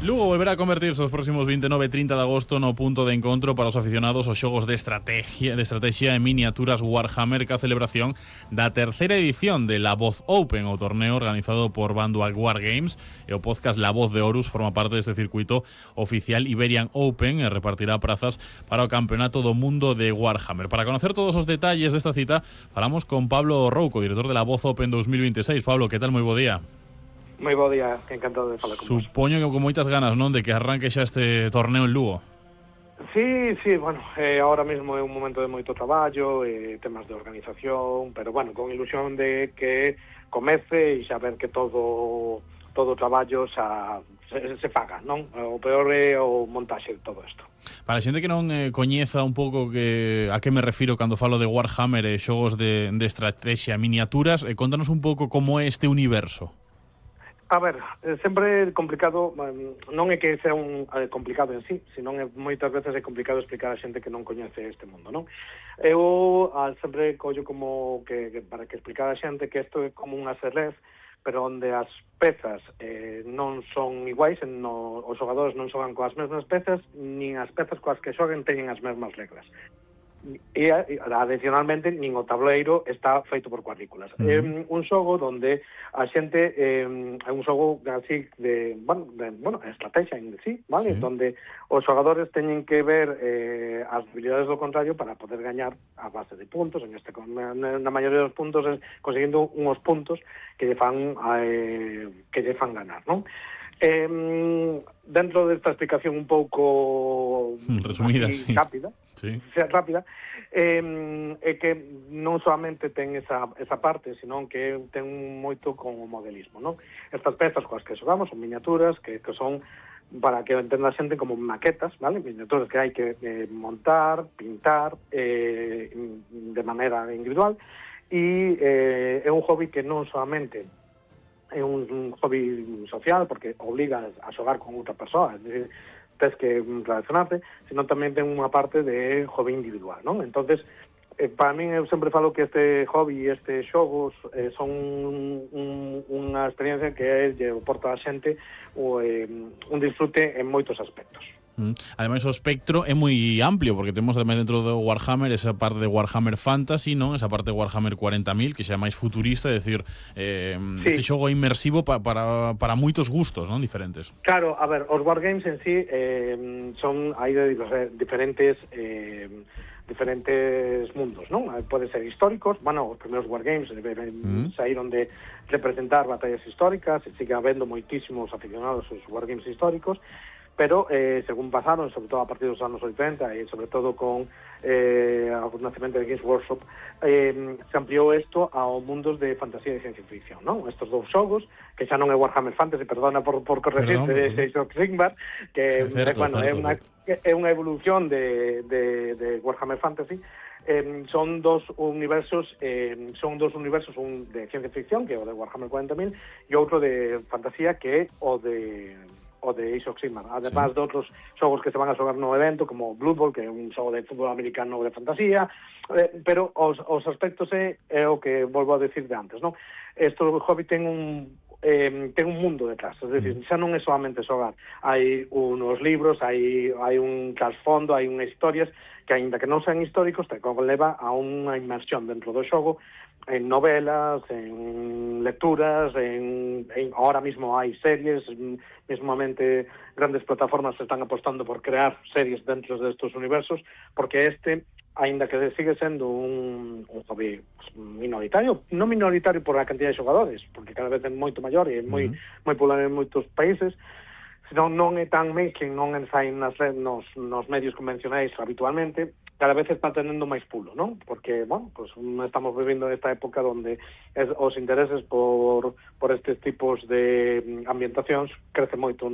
Lugo volverá a convertirse os próximos 29 e 30 de agosto no punto de encontro para os aficionados aos xogos de estrategia e miniaturas Warhammer, que a celebración da terceira edición de La Voz Open, o torneo organizado por Vanduak Wargames, e o podcast La Voz de Horus forma parte deste circuito oficial Iberian Open e repartirá prazas para o campeonato do mundo de Warhammer. Para conocer todos os detalles desta cita, falamos con Pablo Rouco, director de La Voz Open 2026. Pablo, que tal? Moi bo día. Moi bo día, encantado de falar con vos. Supoño que con moitas ganas, non, de que arranque xa este torneo en Lugo. Sí, bueno, ahora mesmo é un momento de moito traballo, temas de organización, pero bueno, con ilusión de que comece e xa ver que todo o traballo se faga, non? O peor é o montaxe de todo isto. Para a xente que non coñeza un pouco a que me refiro cando falo de Warhammer e xogos de estrategia, miniaturas, contanos un pouco como é este universo. A ver, sempre é complicado, non é que sea complicado en sí, senón moitas veces é complicado explicar a xente que non coñece este mundo, non? Eu sempre collo como que para que explicar a xente que isto é como un acerrez, pero onde as pezas non son iguais, os xogadores non xogan coas mesmas pezas, nin as pezas coas que xoguen teñen as mesmas reglas. E adicionalmente nin o tableiro está feito por cuadrículas. É un xogo onde a xente é un xogo así de estrategia en sí, vale? Sí. Donde os xogadores teñen que ver as debilidades do contrario para poder gañar a base de puntos, na maioría dos puntos es conseguindo unhos puntos que lle fan ganar, non? Dentro desta explicación un pouco resumida, así, rápida, é que non solamente ten esa parte, senón que ten moito con o modelismo, non? Estas pezas coas que xogamos son miniaturas que son, para que entenda a xente, como maquetas, vale? Miniaturas que hai que montar, pintar de maneira individual, e é un hobby que non solamente é un hobby social, porque obliga a xogar con outra persoa, é dicir, tens que relacionarte, senón tamén ten unha parte de hobby individual, non? Entonces, para min, eu sempre falo que este hobby e estes xogos son unha experiencia que lle aporta a xente un disfrute en moitos aspectos. Ademais, o espectro é moi amplio, porque temos ademais dentro do Warhammer esa parte de Warhammer Fantasy, non? Esa parte de Warhammer 40.000, que xa é máis futurista, é dicir, este xogo é inmersivo para moitos gustos, non? Diferentes. Claro, a ver, os wargames en sí hai diferentes mundos, non? Pode ser históricos, os primeiros wargames saíron de representar batallas históricas, e sigue habendo moitísimos aficionados aos wargames históricos, pero según pasaron, sobre todo a partir dos anos 80 e sobre todo con o nacemento de Games Workshop, se ampliou isto ao mundos de fantasía e ciencia ficción, non? Estos dous xogos, que xa non é Warhammer Fantasy, perdona por corregirte, de Age of Sigmar, que é unha evolución de Warhammer Fantasy. Son dos universos, un de ciencia ficción, que é o de Warhammer 40.000, e outro de fantasía, que é o de Age of Sigmar, además de outros xogos que se van a xogar no evento, como Blood Bowl, que é un xogo de fútbol americano de fantasía, pero os aspectos é o que volvo a decir de antes, non? Este hobby ten un mundo detrás, é dicir, xa non é solamente xogar, hai unos libros, hai un trasfondo, hai unhas historias que, aínda que non sean históricos, te leva a unha inmersión dentro do xogo, en novelas, en lecturas, ahora mismo hai series, mesmamente grandes plataformas están apostando por crear series dentro destes universos, porque aínda que sigue sendo un hobby minoritario, non minoritario por a cantidad de xogadores, porque cada vez é moito maior e é moi popular en moitos países, senón non é tan mainstream, non sai nos medios convencionais habitualmente, cada vez está tendo máis pulo, non? Porque, estamos vivindo nesta época onde os intereses por estes tipos de ambientacións crece moito